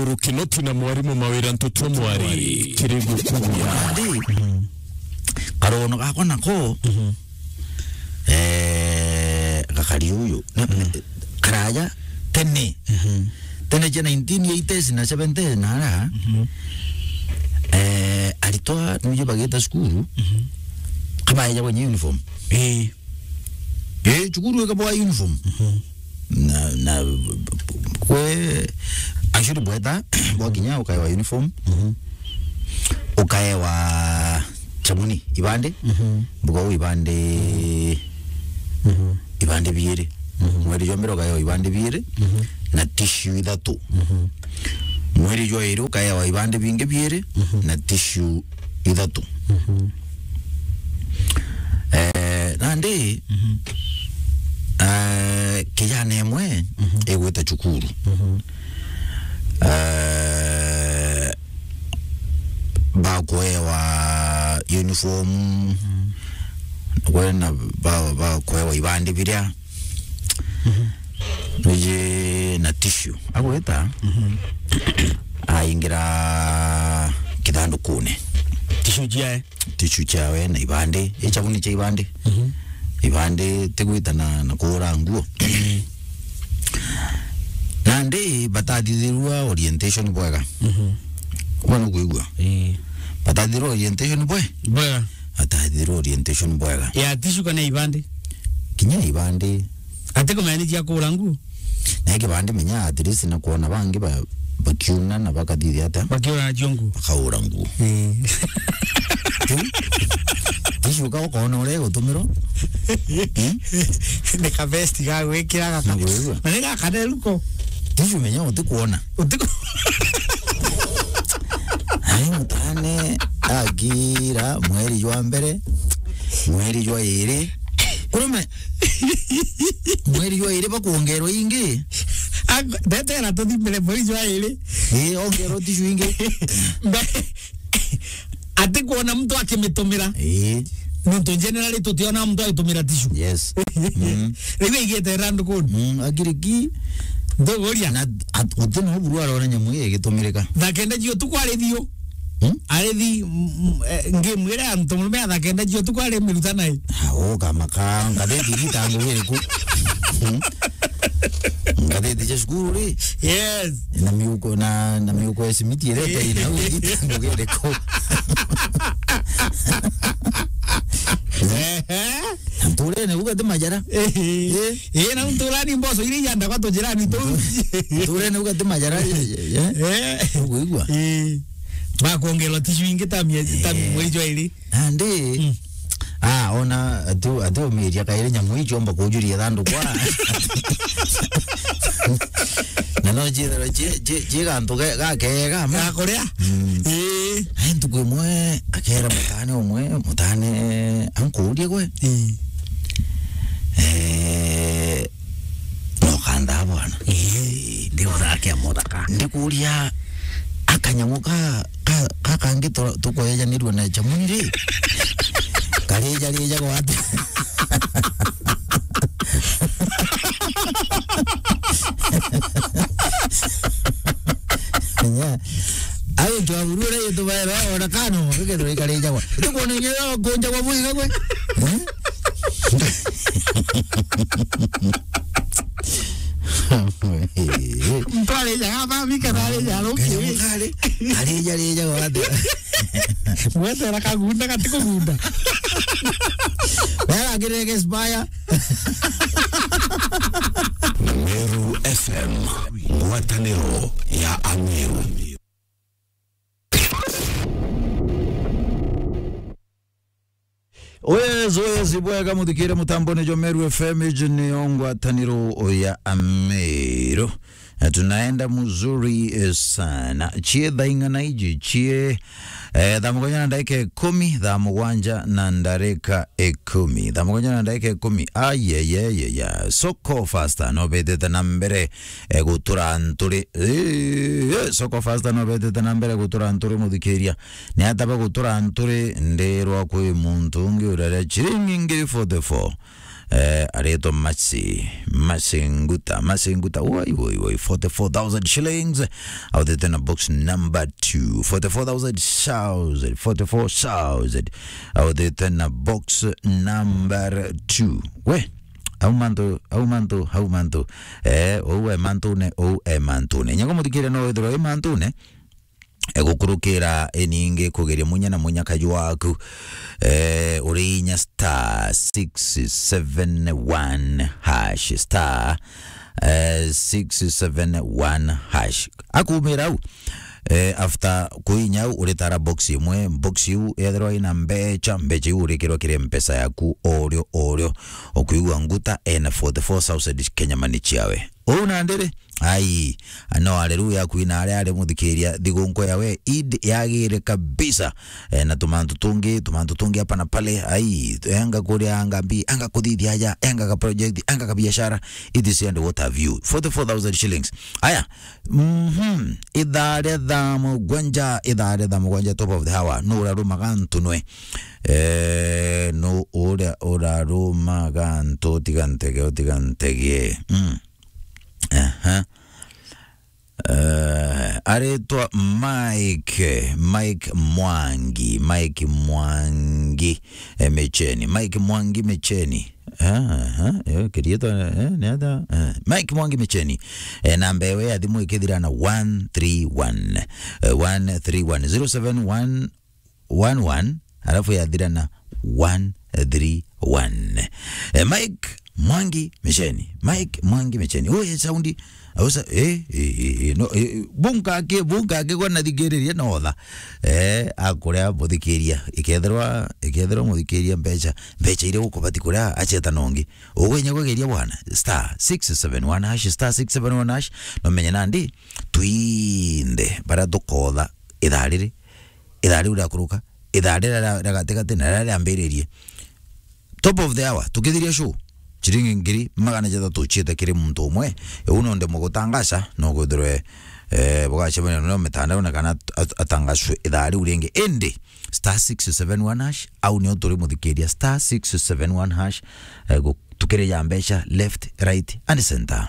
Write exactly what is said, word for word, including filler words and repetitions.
Uru Kinoti na mwarimu Mawira Ntutu Mwari. Kirigu kunya. Ndi. Karono gakwa nako. Mhm. Eh, gakari uyu. Na, mhm, karaja tene. Mhm. Tene cia nineteen eighties na seventies na ara. Mhm. Eh, aritwa nuje bageta cukuru. Mhm. Kabaeja kwenye uniform. Eh. Eh, cukuru ikabwa uniform. Mhm. Na, na, kwe, actually bweta, bwakinya ukaewa uniform. Mhm. Ukaewa chabuni, ibande. Mhm. Mbuga u ibande, mhm, ibande biiri. Mhm. Mweri jwa mbere ukaewa ibande biiri, mhm, na tissue ithatu. Mhm. Mweri jwa iri ukaewa ibande bingi biiri, mhm, na tissue ithatu. Mhm. Eh, nandi, mhm, eh, kijana imwe, mhm, igwita cukuru. Mhm. Eh, bakuewa uniform, mhm, kwena ba-, bakuewa ibandi biria, mhm, biji na tissue. Agwita, mhm, aingira kithandukune. Tissue ciae? Tissue ciawe na ibandi, i chabuni cia ibandi. Mhm. Ibandi tigwita na, na kuura nguo. Mhm. Nandi batathithirua orientation bwega. Mhm. Bwana kwigua? Ii. Batathithirua orientation bwe? Bwega. Batathithirua orientation bwega. Ya tissue kana ibandi? Kinya ibandi. Ati kumenya ni cia kuura nguo? Na kibandi menya at least na kuona bangi ba-, bakiuna na bakathithia atia? Bakiura nacio nguo. Bakaura nguo. Ii. Tissue ka ukoona uria igutumirwa. Hmm? Ni ka vest ga gwikira gaka. Nigwigua? Na ni gaka neruko. Tissue menya utikuona. Utiku- Ai, mutane agira mweri jwa mbere, mweri jwa iri. Kurume, mweri jwa iri bakuongerwa ingi. Ak-, ndetera tuthimire mweri jwa iri. Ii, ongerwa tissue ingi. Mbe-, ati kuona mtu akimitumira. Ii. Nontu generally tutiona mtu agitumira tissue. Yes. Mm. Riu igite randu kuni. Mm, agiriki. Nduguria. Na at-, uti no buru arona nyamu igitumirika. Thaa kenda cia utuku ari thiu. Hmm? Ari thi, mm, mm, eh, ngimwira antu murume a thaa kenda cia utuku ari miruta nai. Ah, ukamaka, ngatheti iritangu iriku? Hmm? Ngatheti cia cukuru ri? Yes. Na miuko, na, na miuko ya simiti irete ina iritangu iriku? Ehe. Na nturene uga ti majara. Ehe. Eh. Eh, na nturani mboso iria iandagwa tujirani tu. Nturene uga ti majara. Eh, eh. Eh. Uguigua? Eh. Bakuongerwa tissue ingi ta miezi, ta, eh, mweri jwa iri. Nandi, mm, ah, ona ati, ati umiria kairi nyamu icio omba kujuria thandukwa. Na no ciithirwa ci, ci, ci gantu ga, gakega ma. Ga kuria? Mm. Ii. Ai, ntuku imwe, akera mutane umwe, mutane, ankuurie gwe. Ii. Eh, no kanthaa bwana. Ii, ndi uthakia muthaka. Ndikuuria, akanyamu ka, ka, ka kangi tu-, tukoejanirua na chamuni ri? Karija rija gwate. Nya. Ayo twaburu ri tubaera ona kano, kigethirwa ikarijagwa. Tukuona inya kunjagwa mwiga gwe. Eh? Muntu arijaga athami kana arija aruki. Kanyamu kari, arija, rija gwate. Mwetera kagunda gatikugunda. Wega ngirege spaya. Meru F M, ngwataniro ya Ameru. Oyes, oyes, bwega muthikire mutambone jwa Meru F M, iji niyo ngwataniro ya Ameru. Na tunaenda mzuri, eh, sana. Cie thaa ing'ana iji? Cie, eh, thaa mugwanja na ndagika ikumi, thaa mugwanja na ndagika ikumi. Thaa mugwanja na ndagika ikumi. Ayeyeyeya. Soko Fasta no betete na mbere, eh, gutura nturi. Eh, eh, Soko Fasta no betete na mbere gutura nturi, muthikiria. Ni ata bagutura nturi? Ndirwa kwi muntu ungi urere chiringi ngiri forty-four. Eh, aretwa Mercy, Mercy Nguta, Mercy Nguta. Woi, woi, woi, forty-four thousand shillings. Authite na box number two. Forty-four thousand, forty-four thousand. Authite na box number two. We, au mantu, au mantu, au mantu. Eh, ou e mantune, ou e mantune. Nyago muthikire no withirwa e mantune. Egukurukira iningi kugeria munya na munya kaju waku. Eh, uri inya star six seven one hash, star, eh, six seven one hash. Akumira au. Eh, after kuinya au, uritara box imwe, box iu yethirwa ina mbecha, mbecha iu urikirwa kiri mpesa yaku orio orio. Ukuigua Nguta ena forty-four thousand Kenya money ciawe. Uu nandi ri? Ai, no haleluya kwina aria ari muthikiria thigunku yawe Eid yagire kabisa. Eh, na tumantu tungi, tumantu tungi hapa na pale. Ai, enga kuria anga mbi, anga kuthithia aja, enga ka project, enga ka biashara. It is and what have you. Forty-four thousand shillings. Aya, mhm, ithaa ria thaa mugwanja, ithaa ria thaa mugwanja, top of the hour. No urarumaga ntunwe. Eh, no uria urarumaga ntu, tiga ntege, tiga ntege. Mm. Aha. Eh, aretwa Mike, Mike Mwangi, Mike Mwangi, eh, Micheni. Mike Mwangi Micheni. Aha, eh, kirietwa, eh, ni ata? Eh, Mike Mwangi Micheni. Eh, namba ewe ya thimu ikithira na one three one. Eh, one three one. Zero seven one one one, alafu yathira na one three one. Eh, Mike Mwangi Micheni. Mike Mwangi Micheni. Oye, saundi. Ausa, eh, eh, eh, eh, no, eh, bunga ke, bunga ke kwa nathikiriria no tha. Eh, akuria muthikiria. Ikethirwa, ikethirwa muthikiria mbecha, mbecha iria ukubati kuria acheta nongi. Ugwinya kugeria bwana. Star six seven one hash, star six seven one hash. No menye nandi, twinde, bara tukotha ithaa riri. Ithaa riu riakuruka, ithaa riria ria, ria gatigati na riria riambiririe. Top of the hour, tukithiria show, ciringi ngiri magana jathatu ciite kiri muntu umwe. Uu no ndemwe gutangaca, no kwithirwe, eh, bugacemania no mitandao na kana at-, at-, atangacwe ithaa riu ringi. Indi, star six seven one hash, au nio turi muthikiria, star six seven one hash, eh, gu-, tukirija mbeca left, right and center.